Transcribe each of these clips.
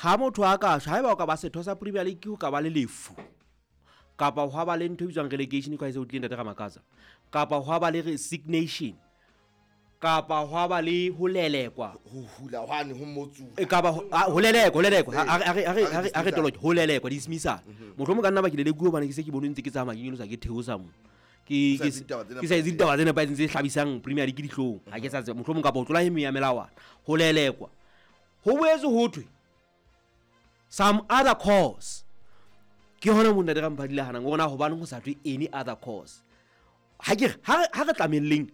Ha motho a ka shwa, haeba o ka ba setho sa Premier League ho ka ba le lefu kapa hwa ba le ntho e bitswang relegation ka e se o tlile ntate Ramakatsa, kapa hwa ba le resignation, kapa hwa ba le ho lelekwa, ho hula hwane ho motsu, e kapa ho lelekwa, ho lelekwa, a re toloke ho lelekwa, dismissal. Mohlomong ka nna ba ke lelekuwe hobane ke se ke bone ntse ke tsamaya ke nyolosa ke theosa mo. Ke sa etse ditaba tse ke sa etse ditaba tse nepahetseng tse hlabisang Premier League dihlong. Ha ke sa tseba, mohlomong kapa ho tlola e meng ya melawana, ho lelekwa. Ho boetse ho thwe some other cause. Ke hona moo ntate Ramphadi le hanang hore na hobaneng ho sa thwe any other cause. Ha ke re, ha re tlamelleng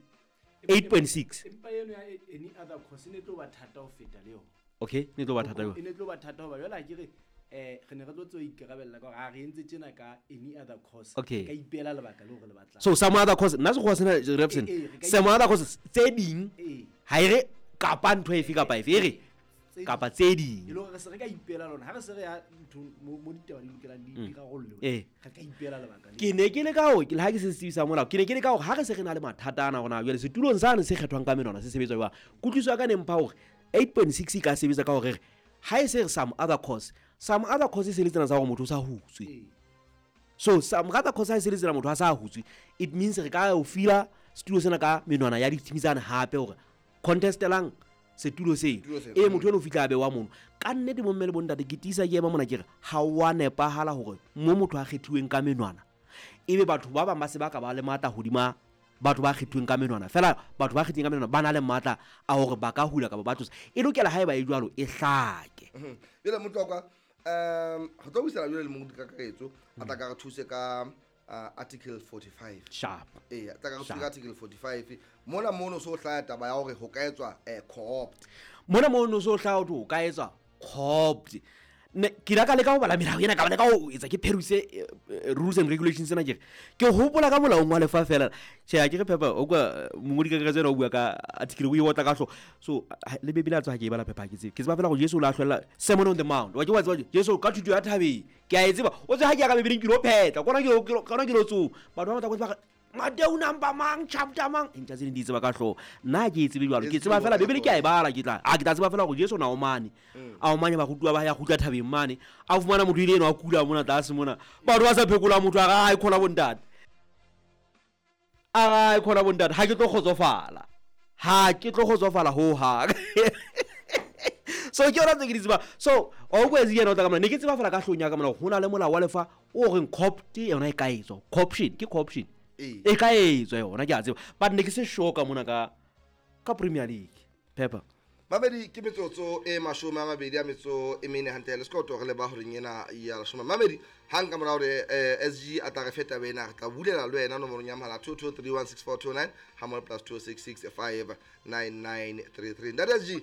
8.6. Empa eno ya any other cause e ne tlo ba thata ho feta le yona. Okay, ne tlo ba thata jwang? E ne tlo ba thata hoba jwale ha ke re, re ne re tlo tswa ikarabella ka hore ha re entse tjena ka any other cause. Okay. Re ka ipehela lebaka leo re le batlang. So some other cause, nna sekgowa sena, Repson, Re ka some other cause tse ding, Ee. ha e re kapa ntho efe kapa efe, e re Tse kapa ding. tse ding. E le hore re se re ka ipehela lona, ha re se re ya nthong mo ditaba di lokelang di rarollwe, re ka ipehela lebaka le. Ke ne ke le ka hore, le ha ke se setsebi sa molao, ke ne ke le ka hore ha re se re na le mathata ana hore na jwale setulong sane se kgethwang ka menwana se sebetsa jwang. Kutlwisiso ya ka ne mpha hore 8.6 e ka sebetsa ka hore re ha e se re some other cause, some other cause e se le tsena tsa hore motho o sa hutswe. So some other cause ha e se le tsena motho a sa hutswe, it means re ka o fila setulo sena ka menwana ya di-team tsane hape hore contestelang setulo seo. Setulo seo. E motho eno o fihla a bewa mono. Ka nnete bomme le bontate, ke tiisa ke ema mona ke re ha wa nepahala hore mo motho a kgethuweng ka menwana ebe batho ba bang ba se ba ka ba le matla hodima batho ba kgethuweng ka menwana. Feela batho ba kgethileng ka menwana ba na le matla a hore ba ka hula kapa ba tlosa. E lokela haeba e jwalo e hlake. Jwale Motlokwa, re tlo buisana jwale le mongodi kakaretso a tla ka re thuse ka article 45. Sharp. Ee, a tla ka re thuse Sharp. ka article 45. Mona mono so hlaya taba ya hore ho ka etswa co-opt. Mona mono so hlaya hore ho ka etswa co-opt. Ne, ke ile ka leka ho bala melao ena, ka ba leka ho etsa ke peruse rules and regulations tsena ke re. Ke hopola ka molaong wa lefa fela. Tjhe, ha ke re Pepper, o kwa mongodi kakaretso ena o bua ka article o e otla ka hlooho. So, le Bibele a tswa ha ke e bala Pepper, ha ke tsebe. Ke tseba fela hore Jesu o la hlwella Sermon on the Mount. Wa ke wa tseba Jesu ka thuto ya thabeng. Ke a e tseba. O tseba ha ke ya ka Bibeleng ke lo phetla. Kona ke lo, ke lo, kona ke lo tsoha. Batho ba batla go tseba re, Mateo number mang, chapter mang. E ntja tse ding di tseba ka hlooho. Nna ha ke e tsebe jwalo. Ke tseba fela Bibele ke a e bala, ke tla, a ke tla tseba fela hore Jesu na o mane. A o mane barutuwa ba hae, a kgutla thabeng mane. A fumana motho ile eno a kula mona tlase mona. Batho ba sa phekola motho a re, ha e kgona bontate. A re, ha e kgona bontate, ha ke tlo kgotsofala. Ha ke tlo kgotsofala ho hang. So ke yona tse ke di tsebang. So, wa utlwa Ezekiel o tla ka mona. Ne ke tseba fela ka hloohong ya ka mona hore ho na le molao wa lefa o reng co-opt yona e ka etswa. Co-option, ke co-option. Ee. E ka etswa yona, ke a tseba. But ne ke se sure ka mona ka Premier League. Pepper. Mamedi, ke metsotso e mashome a mabedi a metso e mene hantle le sekoloto re leba horeng ena ya leshome. Mamedi, hang ka mora hore SG a tla re fe taba ena, re tla bulela le wena nomorong ya mohala 22316429 ha mmoho plus 26659933. Ntate SG.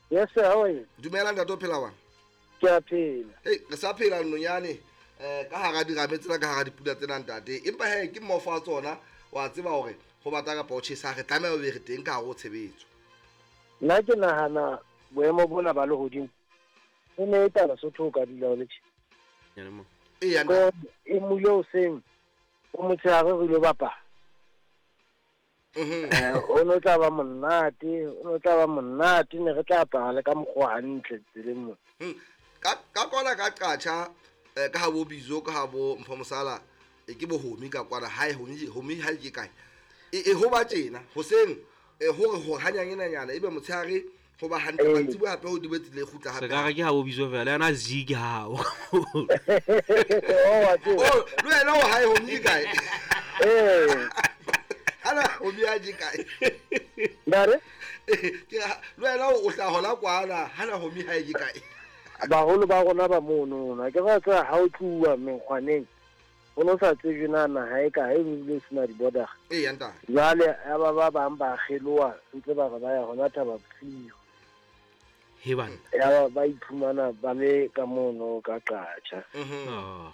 Yes sir, how are you? Dumela ntate, o phela jwang? Ke a phela. Hey, re sa phela nonyane, ka hara dirame tsena, ka hara dipula tsena ntate. Empa he ke mmofa wa tsona, wa tseba hore ho bata kapa ho tjhesa, re tlameha ho be re teng ka hare ho tshebetso. Nna ke nahana boemo bona ba lehodimo e ne e tla Lesotho o ka dula o le tjhe. Eya, Ko e mule hoseng, o motshehare re ilo bapala. O no tla ba monate, o no tla ba monate, ne re tla apara le ka mokgwa hantle tseleng mona. Ka kwana ka qatjha, ka ha bo Bizo, ka ha bo Mpho Mosala, ke bo Homi ka kwana, hae Homi, Homi ha ke kae. E ho ba tjena, hoseng, hore ho hanyanyenyana, ebe motshehare ho ba hantle, mantsiboya hape ho dibetse le kgutla hape. Se ka re ke ha bo Bizo fela, yena Z ke ha o. Oh, wa tseba. Oh, le wena o hae Homi ke kae? Ana Homi a ke kae? Nare? Ke ha, le wena o tla hola kwana, hana Homi ha e ke kae? Baholo ba rona ba mono, na ke ba tseba ha o tluwa mekgwaneng, o no sa tsejwe na naha e kae, e bile e sena di-border. Ee, ya ntate. Jwale ya ba ba bang ba kgeloha, ntse ba re ba ya hona Thaba Bosiu. He banna. Ya ba ba iphumana ba le ka mono ka Qacha. Oh.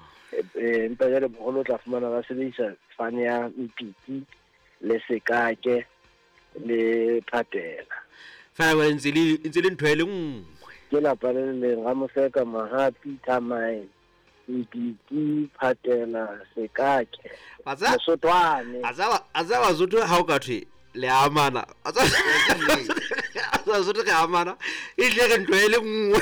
Empa jwale boholo o tla fumana ba sebedisa fane ya Mpiti le Sekake le Phatela. Fela jwale ntse le ntho e le nngwe. Ke lapa le le leng, Ramoseka, Mahapi, Thamae, Mpiti, Phatela, Sekake, Wa tseba- Mosotwane. A tseba Basotho ha o ka thwe le amana. A tseba Basotho re amana, e tle re ntho e le nngwe.